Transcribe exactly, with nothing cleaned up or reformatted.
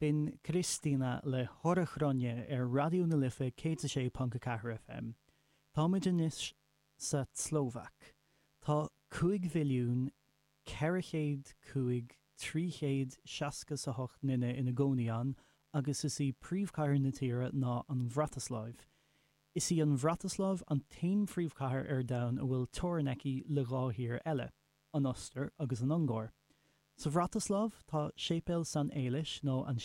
B'in Kristína le Horehronie ar Raidió na Life céad a sé ponc a ceathair FM. Táimid anois sa tSlóvaic. Tá cúig mhilliún ceithre chéad cúig trí chéad seasca a hocht nduine ina gcónaí ann agus is í príomhchathair na tíre ná an Bhratasláiv. Is í an Bhratasláiv an t-aon phríomhchathair ar domhan a bhfuil teorainn aici le dhá thír eile, an Ostair agus an Ungáir. Sa Bhratasláiv tá Séipéal San Éilis nó an